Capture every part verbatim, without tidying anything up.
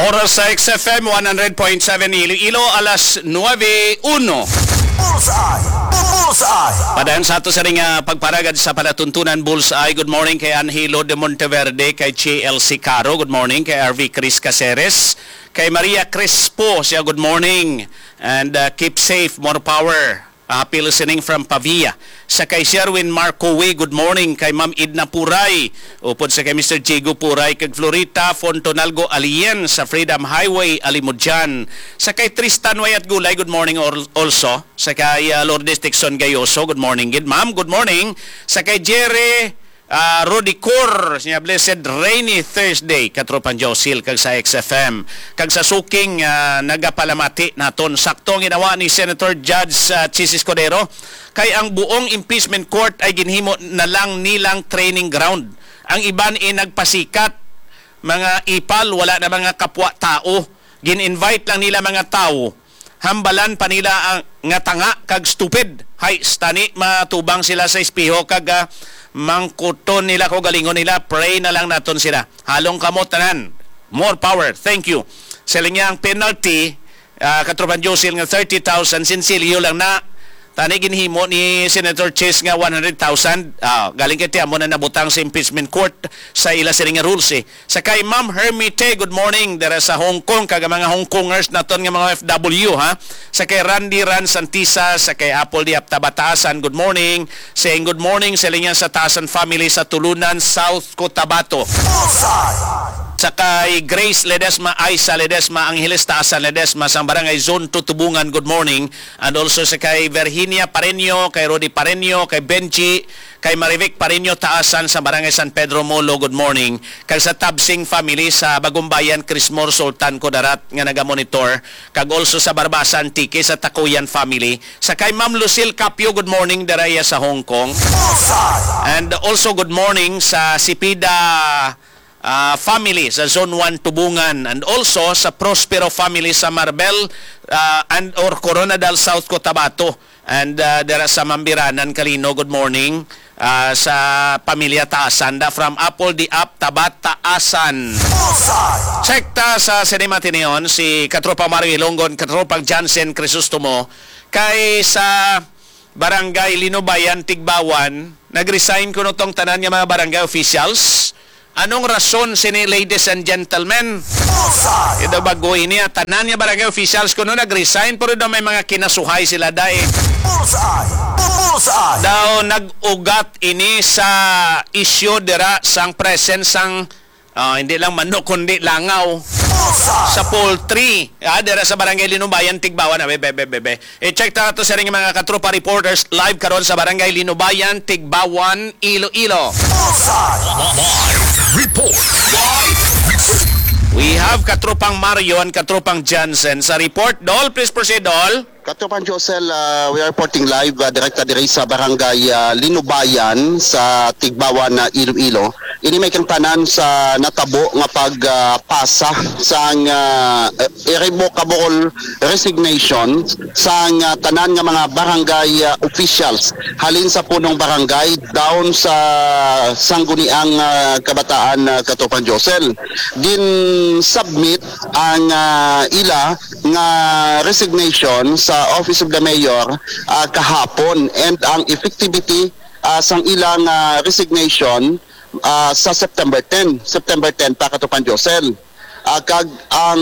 Oras sa X F M one hundred point seven Iloilo, alas nuebe uno. Bullseye! Bullseye! Padayon sa ato sa ring, ah, pagparagad sa palatuntunan Bullseye. Good morning kay Angelo de Monteverde, kay J L C Caro. Good morning kay R V Chris Caceres, kay Maria Crespo. Siya, good morning. And, ah, keep safe, more power. Happy listening from Pavia. Sa kay Sherwin Marco Way, good morning. Kay Ma'am Edna Puray, upod sa kay Mister Jigo Puray, kag Florita Fontonalgo Alien sa Freedom Highway, Alimodian. Sa kay Tristan Wayat Gulay, good morning al-, also. Sa kay, ah, Lourdes Dixon Gayoso, good morning gid, ma'am. Good morning. Sa kay Jerry, ah, Rudy Cor, siya, blessed rainy Thursday, Katropang Josil, kag sa X F M. Kag sa suking, ah, nagapalamati naton, sakto ang ginawa ni Senator Judge, ah, Chiz Escudero, kay ang buong impeachment court ay ginhimo na lang nilang training ground. Ang iban ay nagpasikat, mga ipal, wala na mga kapwa tao. Gin-invite lang nila mga tao. Hambalan pa nila ang nga tanga kag stupid. Hay, stani, matubang sila sa espeho kag, ah, mangkuton nila ko galingon nila. Pray na lang naton sila. Halong kamo tanan. More power. Thank you. Sa linya ang penalty, ah, Katropang Josil, nga thirty thousand, sinsilyo lang na. Tani ginhimo ni Senator Chiz nga one hundred thousand. Ah, galing kay tiyan mo na nabutang sa impeachment court sa ila sini nga rules, eh. Sa kay Ma'am Hermite, good morning, dira sa Hong Kong, kag ang mga Hong Kongers naton nga mga O F W, ha. Sa kay Randy Ran Santisa, sa kay Apple Diap Tabataasan, good morning. Saying good morning sa linya sa Taasan family sa Tulunan, South Cotabato. Sa kay Grace Ledesma, Aisa Ledesma, Angeles Taasan Ledesma, sang Barangay Zone two Tubungan, good morning. And also sa kay Virginia Pareño, kay Rudy Pareño, kay Benji, kay Marivic Pareño Taasan sa Barangay San Pedro Molo, good morning. Kag sa Tabsing family sa Bagumbayan, Crismore, Sultan Kudarat nga nagamonitor. Kag also sa Barbasan, Antique, sa Takuyan family. Sa kay Ma'am Lucille Capio, good morning, dira iya sa Hong Kong. And also good morning sa Sipida, ah, family sa Zone one Tubungan, and also sa Prospero family sa Marbel, ah, and or Coronadal, South Cotabato. And, ah, dira sa Mambiranan, Kalino, good morning. Ah, sa pamilya Taasan da, from Apple di Ap, Tabat, Taasan. Check ta sa Cinema Tinion, si Katropa Mario Ilonggon, Katropang Jansen Crisostomo, kay sa Barangay Linubayan, Tigbawan, nag-resign kuno tong tanan nga mga barangay officials. Anong rason sini, ladies and gentlemen? Ito bago ini, ah, tanan nga barangay officials kuno nag-resign, pero daw may mga kinasuhay sila, dahil Bullseye! Bullseye! Daw nag-ugat ini sa isyu dira sang presence sang, ah, hindi lang manok, kundi langaw sa poultry. Ah, dira sa Barangay Linubayan, Tigbawan. Abe, be, be, be, be. I-check ta to sa ring mga katropa reporters live karon sa Barangay Linubayan, Tigbawan, Iloilo. Live report. We have Katropang Mario and Katropang Jansen sa report. Dol, please proceed, Dol. Katropang Josel, ah, we are reporting live, ah, direkta diri sa Barangay, ah, Linubayan sa Tigbawan, ah, Iloilo. Ini may kang tanan sa natabo nga pag, ah, pasa sang, ah, irrevocable resignation sang, ah, tanan nga mga barangay, ah, officials, halin sa punong barangay down sa sangguniang, ah, kabataan, ah, Katropang Josel. Gin-submit ang, ah, ila nga resignation sa Office of the Mayor, ah, kahapon, and ang effectivity, ah, sang ilang, ah, resignation, ah, sa September ten, September ten pa, Katropang Josel. Ah, kag ang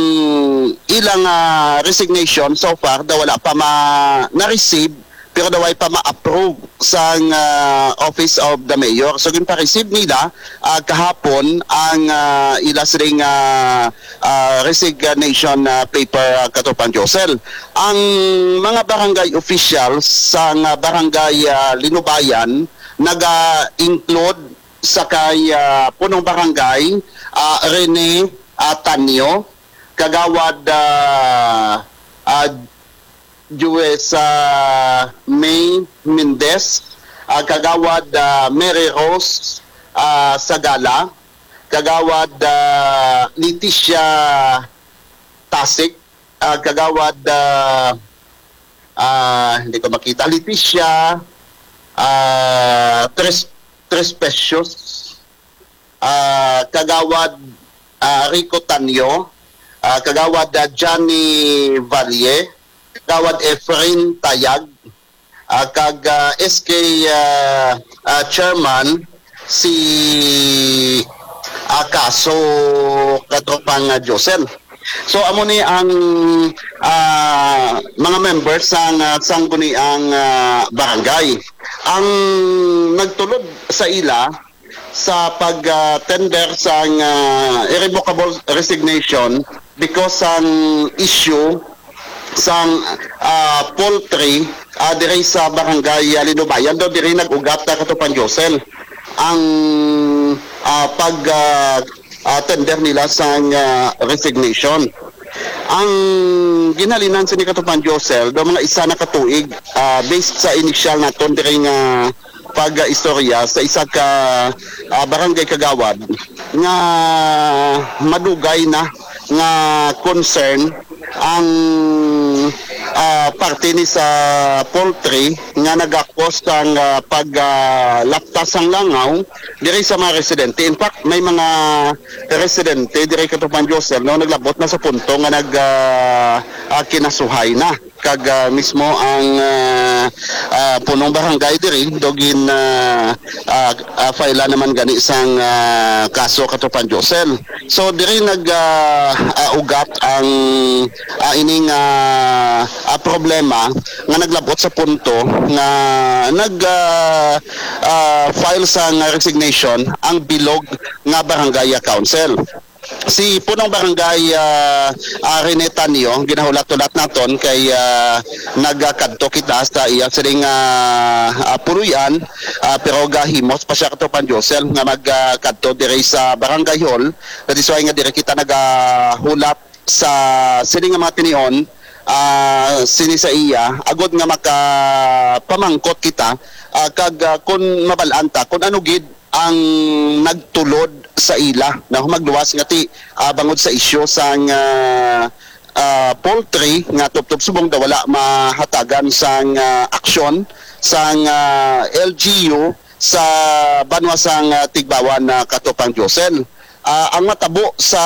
ilang, ah, resignation so far daw wala pa ma-, na-receive, pero daw ay pa ma-approve sang, ah, Office of the Mayor. So, ginpa-receive nila, ah, kahapon ang, ah, ila sining, ah, ah, resignation, ah, paper, ah, Katropang Josel. Ang mga barangay officials sang, ah, barangay, ah, Linubayan naga-include sa kay, ah, punong barangay, ah, Rene, ah, Tanyo, Kagawad, ah, ah, Juez, ah, May Mendez, ah, Kagawad, ah, Mary Rose, ah, Sagala, Kagawad, ah, Leticia Tasik, ah, Kagawad, ah, ah, hindi ko makita, Leticia, ah, Tres-, Trespecios, ah, Kagawad, ah, Rico Tanyo, ah, Kagawad, ah, Johnny Valle, Kagawad Efren Tayag, ah, kag, ah, S K, ah, ah, Chairman si, ah, Kaso Katropang, ah, Josel. So, amo ni ang, ah, mga members sang, ah, sangguniang, ah, barangay. Ang nagtulod sa ila sa pag, ah, tender sang, ah, irrevocable resignation because sang issue sang, ah, poultry, ah, diri sa barangay, ah, Linubayan, daw diri nag-ugat, ah, Katropang Josel, ang, ah, pag, ah, ah, tender nila sang, ah, resignation. Ang ginhalinan sini, Katropang Josel, daw mga isa na katuig, ah, based sa initial naton diri nga pag-istorya sa isa ka, ah, barangay kagawad nga madugay na nga concern ang, ah, parte ni sa poultry nga nagakos sang, ah, pag, ah, laptas sang langaw diri sa mga residente. In fact, may mga residente diri, Katropang Josel, no, naglabot na sa punto nga nag, ah, ah, kinasuhay na kag, ah, mismo ang, ah, ah, punong barangay diri daw gin, ah, ah, ah, file naman gani sang, ah, kaso, Katropang Josel. So diri nag, ah, ah, ugat ang, ah, ining, ah, ah, problema nga naglabot sa punto nga nag, ah, ah, file sang resignation ang bilog nga barangay, ah, council. Si Punong Barangay, ah, ah, Rene Tanyo, ginahulat-hulat naton kay, ah, nagakadto kita sa iya sining, ah, ah, puloy-an, ah, pero gahimos pa siya, Katropang Josel, nga magkadto diri sa Barangay Hall. That is why nga diri kita nagahulat sa sining nga mga tinion, ah, sini sa iya, agod nga makapamangkot kita, ah, kag, ah, kun mabal-an ta kun ano gid ang nagtulod sa ila na magluwas nga ti, ah, bangod sa isyu sang, ah, ah, poultry nga tubtob subong daw wala mahatagan sang, ah, aksyon sang, ah, L G U sa banwa sang, ah, Tigbauan, ah, Katropang Josel. Ah, ang matabo sa,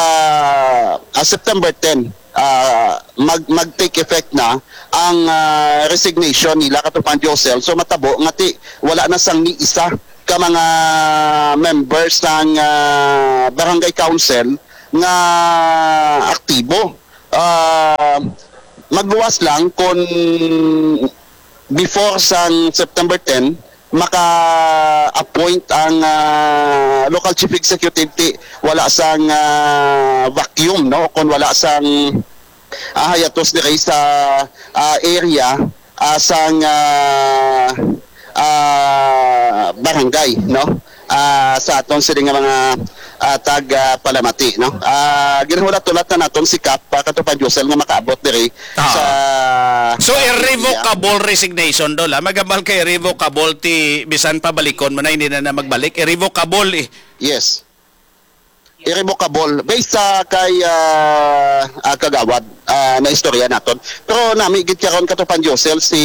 ah, September ten, ah, mag, mag-take effect na ang, ah, resignation nila, Katropang Josel. So matabo nga ti wala na sang ni isa ka mga members sang, ah, barangay council nga aktibo. Ah, magluwas lang kung before sang September ten, maka-appoint ang, ah, local chief executive ti wala sang, ah, vacuum, no, kung wala sang, ah, hayatos diri sa, ah, area, ah, sang, ah, ah, barangay, no? Ah, sa aton sini nga mga, ah, tag, ah, palamati, no? Ah, ginahulat-hulat na naton si Kap, ah, Katropang Josel nga makaabot diri. Ah. Sa, so, ah, irrevocable resignation daw la. Magambal kay irrevocable ti bisan pabalikon mo na, hindi na, na magbalik. Irrevocable, eh. Yes. Irrevocable. Based sa kay, ah, ah, kagawad, ah, na istorya naton. Pero nami gid karon, Katropang Josel, si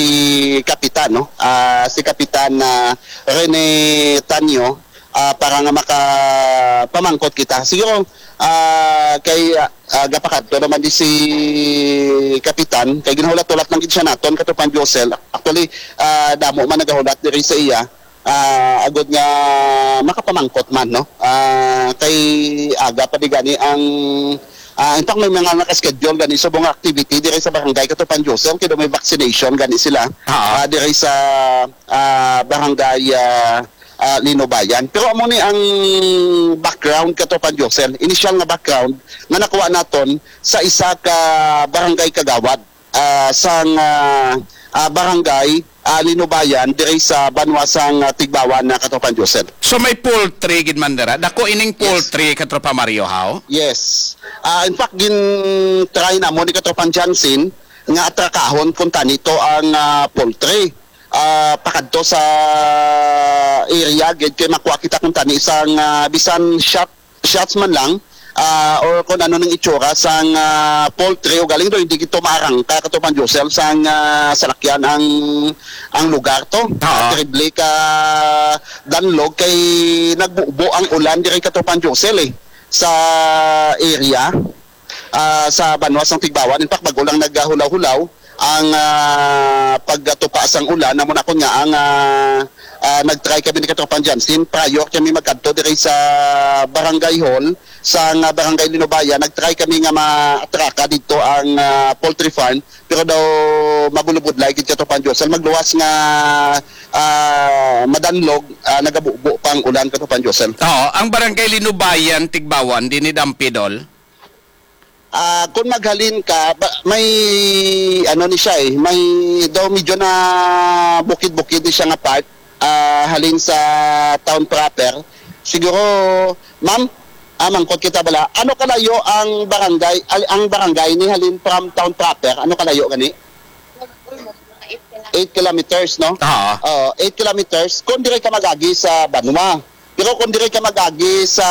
Kapitan, no? Ah, si Kapitan, ah, Rene Tanyo, ah, para nga makapamangkot kita. Siguro, ah, kay, ah, ah, gapakadto naman di si Kapitan, kay ginahulat-hulat lang gid siya naton, Katropang Josel. Actually, ah, damo man nagahulat diri sa iya, ah, agod nga makapamangkot man, no? Ah, kay aga pa di gani ang, ah, in fact, may mga naka-schedule gani subong activity diri sa barangay, Katropang Josel, kay daw may vaccination gani sila, ah, diri sa, ah, barangay, ah, ah, Linubayan. Pero amo ni ang background, Katropang Josel, initial nga background nga nakuha naton sa isa ka barangay kagawad, ah, sang, ah, ah, barangay, ah, Linubayan diri sa banwa sang, ah, Tigbauan, na, Katropang Josel. So may poultry gid man dira. Dako ining, yes, poultry, Katropa Mario, how? Yes. Ah, in fact, gin-try namo ni Katropang Jansen nga atrakahon kung tani to ang, ah, poultry. Ah, pakadto sa area gid kay makuha kita kung tani sang, ah, bisan shot, shots man lang, ah, or kung ano nang itsura sang, ah, poultry, o galing do hindi kito maarangka, Katropang Josel, sang, ah, salakyan ang, ang lugar to. Oo. Ah, terrible ka danlog kay nagbubo ang ulan diri, Katropang Josel, eh, sa area. ah, sa banwa sang Tigbawan. In fact, bago lang naghulaw-hulaw ang, ah, pagtupa sang ulan. Amo na kon nga ang, ah, ah, nag-try kami ni Katropang Jansen prior kami magkadto diri sa barangay hall sang, ah, barangay Linubayan. Nag-try kami nga maatraka dito ang, ah, poultry farm, pero daw mabulubudlay gid, Katropang Josel. Magluwas nga, ah, madanlog, ah, nagabubo pa ang ulan, Katropang Josel. Oo, ang barangay Linubayan, Tigbawan, dinhi Dampidol. Ah, kung maghalin ka, ba, may ano ni siya eh, may daw medyo na bukid-bukid ni siya nga part, ah, halin sa town proper. Siguro, ma'am, ah, mangkot kita bala. Ano kalayo ang barangay, al- ang barangay ni halin from town proper? Ano kalayo gani? Eight kilometers, no? Oo. Oo, eight kilometers. Kung dire ka magagi sa banwa. Pero kung dire ka magagi sa,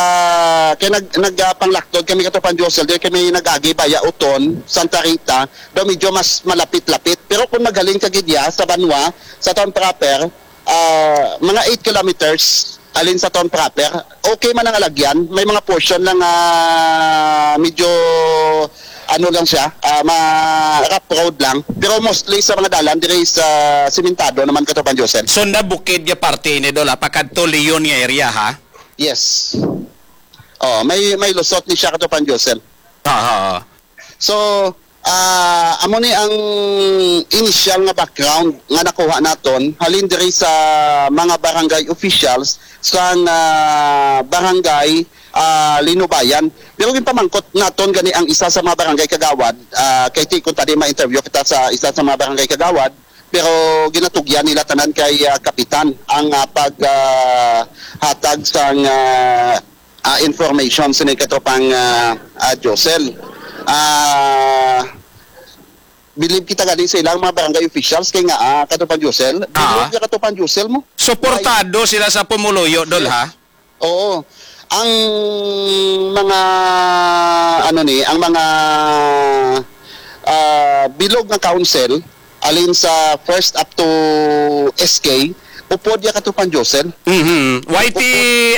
kay nag, nag, ah, panglaktod kami, Katropang Josel, dire kami nagagi via Uton, Santa Rita, daw medyo mas malapit-lapit. Pero kung maghalin ka gid ya sa banwa, sa town proper, ah, mga eight kilometers alin sa town proper, okay man ang alagyan. May mga portion lang, ah, medyo ano lang siya, ah, ma rough road lang. Pero mostly sa mga dalan diri sa simentado naman, Katropang Josel. So, nabukid nga parte ini, Dol, ha? Pakadto Leon nga area, ha? Yes. Oh, may, may lusot ni siya, Katropang Josel. Ah, ah, ah. So, ah, amo ni ang initial nga background nga nakuha naton halin diri sa mga barangay officials sang, ah, barangay, ah, Linubayan. Pero ginpamangkot naton gani ang isa sa mga barangay kagawad, ah, kay ti kung tadi ma-interview kita sa isa sa mga barangay kagawad, pero ginatugyan nila tanan kay, ah, kapitan ang, ah, pag, ah, hatag sang, ah, ah, information sini, Katropang, ah, ah, Josel. Ah, believe kita gani sa ilang mga barangay officials kay nga, ah, Katropang Josel. Ah. Believe ka, Katropang Josel, mo? Suportado sila sa pumuluyo, Dol, ha? Oo. Ang mga, ano ni, ang mga, ah, bilog nga council, alin sa first up to S K, upod ya, Katropang Josel. Mhm. Y T,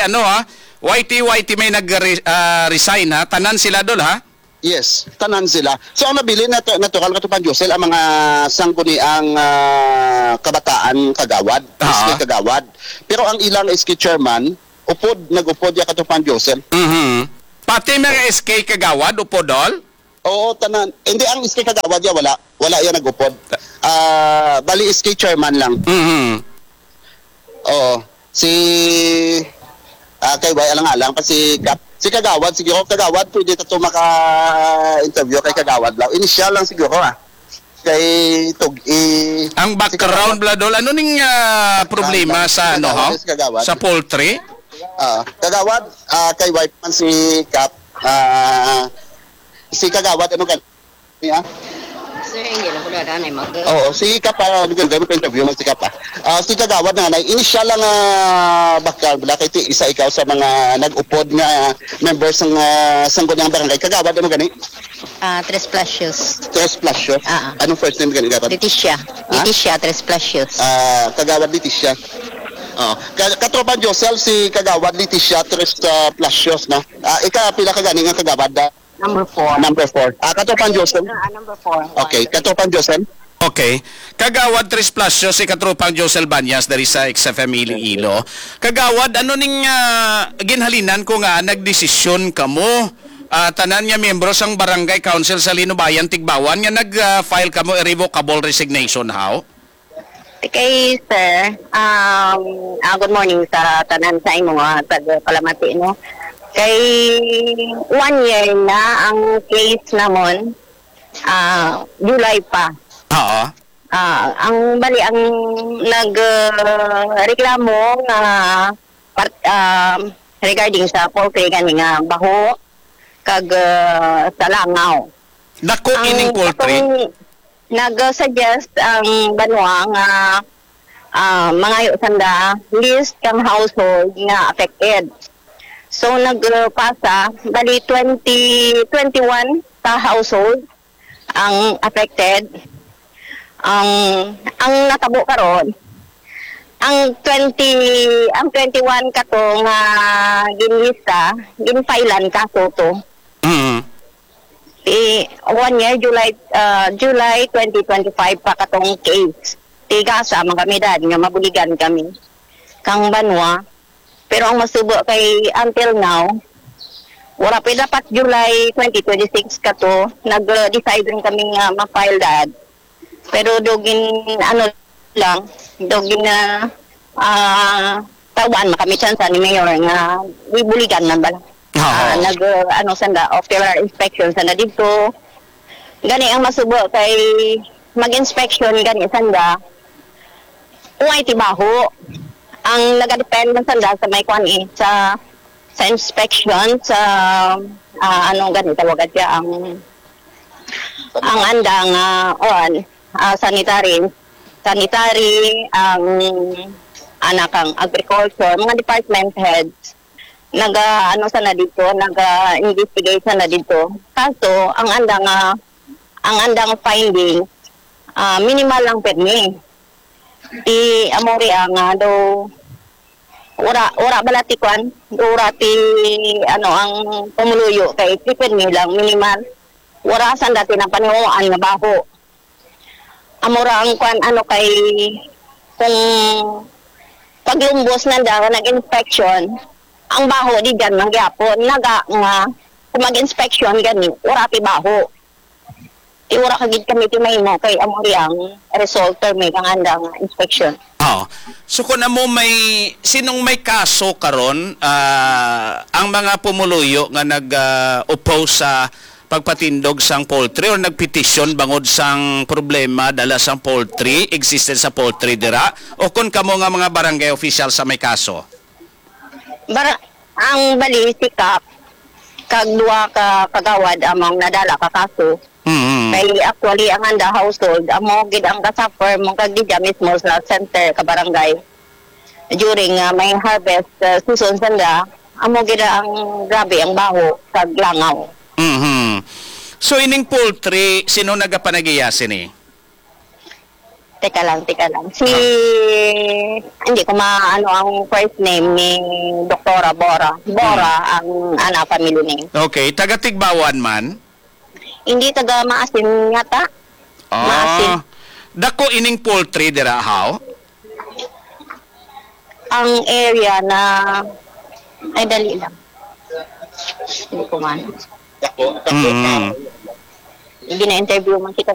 ano, ha? Y T, Y T may nag-re-, ah, resign, ha? Tanan sila, Dol, ha? Yes, tanan sila. So, ang nabilin natu-, natural, Katropang Josel, ang mga sangguniang, ah, kabataan kagawad, Ah. S K kagawad. Pero ang ilang S K chairman, upod, nag-upod ya, Katropang Josel. Mhm. Pati mga S K kagawad, upod, Dol? Oo, tanan. Hindi, ang S K kagawad ya, wala. Wala ya nag-upod. Ah, bali, S K chairman lang. Mhm. Oo. Si, ah, kay Way, alang-alang pa si Kap. Si Kagawad, siguro, Kagawad, pwede ta to maka-interview kay Kagawad lang. Initial lang siguro, ah. Kay Tug-, i-, Ang si background, Kagawad. Bla, Dol, ano ning, ah, Background problema lang. Si sa, ano, Kagawad, ha? Si Kagawad. Sa poultry? Ah, Kagawad, ah, kay wife man si Kap. Ah, si Kagawad, ano ka? Yeah. Sir, hindi lang ko na danay mag- Oo, si Kap, ah, maganda mo interview man si Kap, ah. Ah, si Kagawad na, na initial lang, ah, bakal, wala kay ti-, isa ikaw sa mga nag-upod nga members ng, ah, sangguniang barangay. Kagawad, ano gani? Ah, Tres Placios. Tres Placios? Ah, ah. Anong first name gani, Kagawad? Leticia. Ha? Leticia Tres Placios. Ah, Kagawad Leticia. Oh, ka-, Katropang Josel, si Kagawad Leticia Tres, ah, Placios, no? Ah, ika, pila ka gani nga Kagawad, ah? Number four. Number four. Ah, Katropang Josel? Ah, number four. Okay, Katropang Josel? Okay. Kagawad Tres Placio, si Katropang Josel Banyas dari sa X F M Iloilo. Kagawad, ano ning, ah, ginhalinan ko nga nagdesisyon kamo, ah, tanan nga miyembro sang Barangay Council sa Linubayan, Tigbawan, nga nag, ah, file kamo irrevocable resignation, haw? Okay, sir. Um, ah, good morning sa tanan sa imo nga tagpalamati, no? Kay one year na ang case namon, ah, July pa. Oo. Ah, ang bali, ang nag, ah, reklamo nga part, ah, regarding sa poultry gani nga baho kag, ah, sa langaw. Dako Ang ining poultry? katong nag-suggest ang banwa nga, ah, mangayo sanda list kang household nga affected. So, nagpasa, bali twenty, twenty-one ka household ang affected. Ang, ang natabo karon, ang twenty, ang twenty-one kato nga ginlista, ginfailan kaso to. Mm. one year, July, ah, July twenty twenty-five pa katong case. Tigasa man kami dad nga mabuligan kami kang banwa. Pero ang masubo kay until now, wala pa dapat July twenty twenty-six kato, nag-decide rin kami nga ma-file dad. Pero dugin, ano lang, dugin na, ah, tawaan man kami tsansa ni Mayor nga ibuligan lang bala. Oo. Ah, nag, uh, ano sanda, ocular inspection sanda dito. Gani ang masubo kay mag-inspection gani sanda. Kung ay tibaho, ang nagadepend man sanda sa may kwan eh, sa, sa inspection, sa, ah, ano gani tawagan siya, ang, ang andang, ah, on, ah, sanitary, sanitary, ang anak ang agriculture, mga department heads, naga, ano sana dito, naga-investigate sana dito. Kaso, ang andang, ah, ang andang finding, ah, minimal lang permi. Ti amo ri ang, ah, daw, ura, ura bala ti kwan, ura ti, ano, ang pumuluyo kay ti permi lang, minimal. Wala sanda ti napaniwaan nga baho. Amo ra ang kwan, ano, kay kung paglumbos nanda nga nag-inspection, ang baho di dyan man gyapon. Naga nga kung mag-inspection gani, wala ti baho. Ti wala ka gid kami ti mahimo kay amo ri ang result permi kang anda nga inspection. Oh. So kung amo may, sinong may kaso karon, ah, ang mga pumuluyo nga nag, ah, oppose sa pagpatindog sang poultry or nagpetisyon bangod sang problema dala sang poultry, existence sa poultry dira, o kon kamo nga mga barangay official sa may kaso? Bara, ang bali, si Kap, kag duha ka kagawad among nadala ka kaso. Mm. Kay actually, ang anda household, amo gid ang kasuffer mo kag didya mismo sa center ka barangay. During, ah, may harvest, ah, season sanda, amo gid ang grabe ang baho kag langaw. Mhm. So, ining poultry, sino nagapanagiya sini? Teka lang, teka lang. Si, Ah. hindi ko maano ang first name ni Doktora Bora. Bora Hmm. ang ana family name. Okay, taga Tigbawan man? Hindi, taga Maasin yata. Ah, Maasin. Dako ining poultry dira, how? Ang area na, ay, dali lang. Hindi ko man. Mm. Gina-interview man kita